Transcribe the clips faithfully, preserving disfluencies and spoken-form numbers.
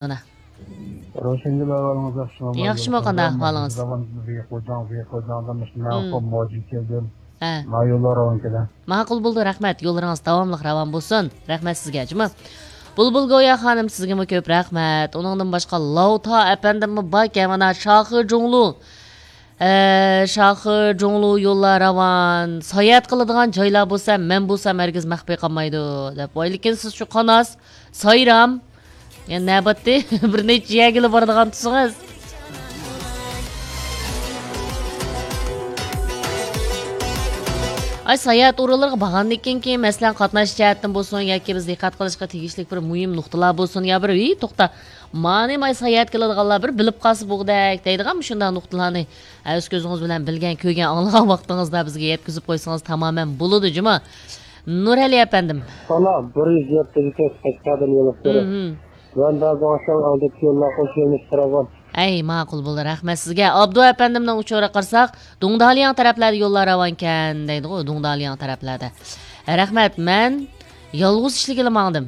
مانا. روشەنگۈل، ئەھۋالىڭىز ياخشىمۇ؟ ياخشىمۇ، قانداق ئەھۋالىڭىز؟ بىيىك غوجاڭ، بىيىك غوجاڭدىن مۇشۇ مەۋقۇ موجى كەلدىم. ھە. ما يوللار ئوڭ كېلە. ماقۇل بولدى، رەھمەت. يوللىرىڭىز داۋاملىق راۋان بولسۇن. رەھمەت سىزگە، جۇمۇ. بۇلبۇل گويا خانىم، سىزگىمۇ كۆپ رەھمەت. ئۇنىڭدىن باشقا لاۋتا ئەپەندىممۇ باركەن، مانا، شاخې جۇڭلۇ. ئە، شاخې جۇڭلۇ يوللار راۋان. ساياھەت قىلىدىغان جايلار بولسا، مەن بولسام ھەرگىز مەخپىي قالمايدۇ، دەپ. ۋاي، لېكىن سىز شۇ قاناس، سايرام. يەنە نەباتتى بىر نەچچە يەرگىلا بارىدىغان تۇسىڭىز. ئاي، ساياھەت ئورۇنلىرىغا بارغاندىن كېيىن، كېيىن، مەسىلەن، قاتناش جەھەتتىن بولسۇن ياكى بىز دىققەت قىلىشقا تېگىشلىك بىر مۇھىم نۇقتىلار بولسۇن يا بىر، ھېي، توختا، مانى ماي ساياھەت كېلىدىغانلار بىر بىلىپ قالسا بوغدەك دەيدىغان مۇشۇنداق نۇقتىلارنى، ھە، ئۆز كۆزىڭىز بىلەن بىلگەن، كۆرگەن، ئاڭلىغان ۋاقتىڭىزدا بىزگە يەتكۈزۈپ قويسىڭىز تامامەن بولىدۇ، جۇمۇ. نۇرئەلى ئەپەندىم. سانا بىر يۈز يەتتە كەچ قەشقەردىن يولۇق تۇرۇپ. مم. ۋەندازاڭشاڭ ئالدىدىكى يوللار قوش يۆنىلىش تۇرغان. ئەي، ماقۇل بولدى، رەھمەت سىزگە. ئابدۇ ئەپەندىمنىڭ ئۇچۇرىغا قارىساق، دۇڭدالياڭ تەرەپلەردە يوللار راۋانكەن دەيدىغۇ، دۇڭدالياڭ تەرەپلەردە. رەھمەت، مەن يالغۇز ئىشلىگىلى ماڭدىم.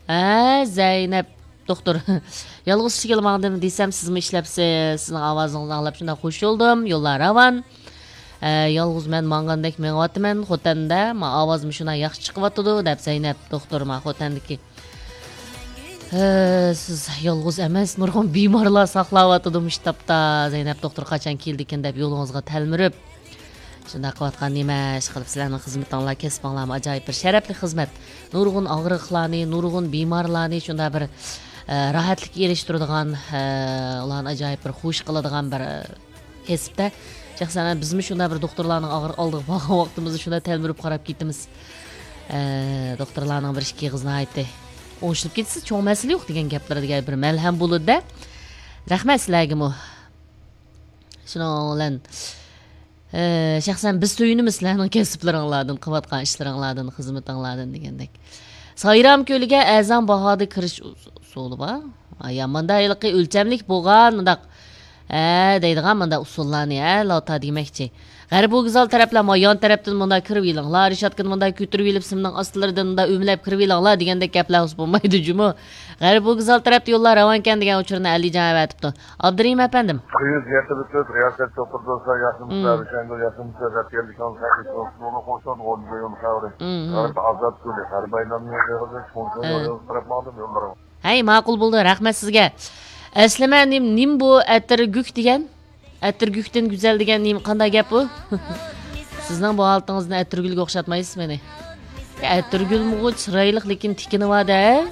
ھە، زەينەپ دوختۇر. يالغۇز ئىشلىگىلى ماڭدىم دېسەم، سىزمۇ ئىشلەپسىز. سىزنىڭ ئاۋازىڭىزنى ئاڭلاپ شۇنداق خۇش بولدۇم. يوللار راۋان. ھە، يالغۇز مەن ماڭغاندەك مېڭىۋاتىمەن خوتەندە. ما ئاۋازمۇ شۇنداق ياخشى چىقىۋاتىدۇ، دەپ زەينەپ دوختۇر ما خوتەندىكى. ھە، سىز يالغۇز ئەمەس، نۇرغۇن بىمارلار ساقلاۋاتىدۇ مۇشۇ تاپتا. زەينەپ دوختۇر قاچان كېلىدىكىن دەپ يولىڭىزغا تەلمۈرۈپ. شۇنداق قىلىۋاتقان نېمە ئىش قىلىپ، سىلەرنىڭ خىزمىتىڭلار، كەسپىڭلارمۇ ئاجايىپ بىر شەرەپلىك خىزمەت. نۇرغۇن ئاغرىقلارنى، نۇرغۇن بىمارلارنى شۇنداق بىر، ئە، راھەتلىككە ئېرىشتۈرىدىغان، ئە، ئۇلارنى ئاجايىپ بىر خۇش قىلىدىغان بىر، ئە، كەسىپتە. شەخسەن بىزمۇ شۇنداق بىر دوختۇرلارنىڭ ئاغرىق ئالدىغا بارغان ۋاقتىمىزدا شۇنداق تەلمۈرۈپ قاراپ كېتىمىز. ئە، دوختۇرلارنىڭ بىر ئىككى ئېغىز ناھايىتى ئوڭشىلىپ كەتسە چوڭ مەسىلە يوق دېگەن گەپلىرى دېگەن بىر مەلھەم بولىدۇ-دە. رەھمەت سىلەرگىمۇ. شۇنىڭ بىلەن، ئى، شەخسەن بىز سۆيۈنىمىز سىلەرنىڭ كەسىپلىرىڭلاردىن، قىلىۋاتقان ئىشلىرىڭلاردىن، خىزمىتىڭلاردىن دېگەندەك. سايرام كۆلىگە ئەرزان باھادا كىرىش ئۇس-، ئۇسۇلى بار. ئايا، ماندا ھېلىقى ئۆلچەملىك بولغان مۇنداق، ئە، دەيدىغان ماندا ئۇسۇللارنى، ئە، لاتا دېمەكچى. غەربىي ۋوگزال تەرەپلەر، ما يان تەرەپتىن مۇنداق كىرىۋېلىڭلار، رېشاتكىنى مۇنداق كۆتۈرۈۋېلىپ، سىمنىڭ ئاستىلىرىدىن مۇنداق ئۆمىلەپ كىرىۋېلىڭلار دېگەندەك گەپلەر بولسا بولمايدۇ جۇمۇ. غەربىي ۋوگزال تەرەپتە يوللار راۋانكەن دېگەن ئۇچۇرنى ئەلىجان ئەۋەتىپتۇ. ئابدۇرېھىم ئەپەندىم. قىز يېتىلىپ ئۆتۈپ، رىياسەت چوقۇردا رىياسەت مم. شەنگۈل ياسىمىسى رەتكەللىكىڭىز ھەقىقىي نۇرغۇن خۇشال بولغان يول خەۋىرى. مم. غەرب ئازاد كۆلى، غەرب ئايلانما يېغىزى، چوڭ چوڭ ھە. يول قاراپ ماڭدىم يوللىرىڭىز. ھەي، ماقۇل بولدى، رەھمەت سىزگە. ئەسلىمە نېم، نېمە بۇ ئەتىرگۈك دېگەن؟ ئەتىرگۈكتىن گۈزەل دېگەن نېمە، قانداق گەپ بۇ؟ سىزنىڭ بۇ ھالىتىڭىزدىن ئەتىرگۈلگە ئوخشاتمايسىز مېنى. ئەتىرگۈلمۇ چىرايلىق، لېكىن تىكىنى بار-دە.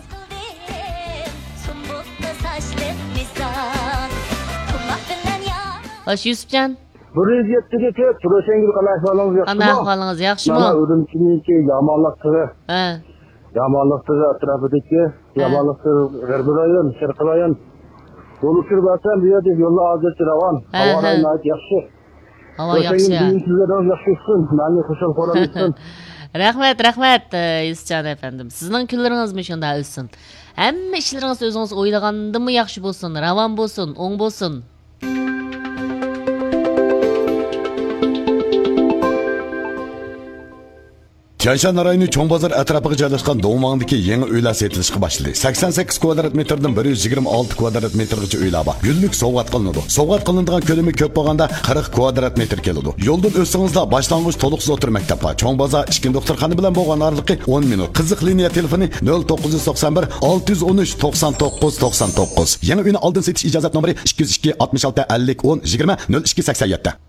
خوش، يۈسۈپجان. بىر يۈز يەتتىگە كۆپ، روشەنگۈل، قانداق ئەھۋالىڭىز، ياخشىمۇ؟ قانداق ئەھۋالىڭىز، ياخشىمۇ؟ مانا ئۈرۈمچىنىڭكى يامانلىق تىغى. ھە. يامانلىق تىغى ئەتراپىدىكى، ھە. يامانلىق تىغى غەربىي رايون، شەرقىي رايون. يول ئۇچۇرى بەرسەم، بۇ يەردە يوللار ھازىرچە راۋان. ھە، ھاۋا ھە. رايى ناھايىتى ياخشى. ھاۋا ياخشى. روشەنگۈل، بۈگۈن كۈنلىرىڭىز ياخشى ئۆتسۇن. مەنىۋى خۇشال-خۇرام ئۆتسۇن. رەھمەت، رەھمەت، ئە، يۈسۈپجان ئەپەندىم. سىزنىڭ كۈنلىرىڭىزمۇ شۇنداق ئۆتسۇن. ھەممە ئىشلىرىڭىز ئۆزىڭىز ئويلىغاندىنمۇ ياخشى بولسۇن، راۋان بولسۇن، ئوڭ بولسۇن. تيەنشان رايونى چوڭ بازار ئەتراپىغا جايلاشقان دوڭماڭدىكى يېڭى ئۆيلەر سېتىلىشقا باشلىدى. سەكسەن سەككىز كۋادرات مېتىردىن بىر يۈز يىگىرمە ئالتە كۋادرات مېتىرغىچە ئۆيلەر بار. گۈللۈك سوۋغات قىلىنىدۇ. سوۋغات قىلىنىدىغان كۆلىمى كۆپ بولغاندا قىرىق كۋادرات مېتىر كېلىدۇ. يولدىن ئۆتسىڭىزلا باشلانغۇچ تولۇقسىز ئوتتۇرا مەكتەپ بار. چوڭ بازار ئىچكى دوختۇرخانا بىلەن بولغان ئارىلىقى ئون مىنۇت. قىزىق لىنىيە تېلېفونى نۆل توققۇز يۈز توقسان بىر، ئالتە يۈز ئون ئۈچ، توقسان توققۇز، توقسان توققۇز. يېڭى ئۆينى ئالدىن سېتىش ئىجازەت نومۇرى ئىككى يۈز ئىككى، ئاتمىش ئالتە، ئەللىك، ئون، يىگىرمە، نۆل ئىككى، سەكسەن يەتتە.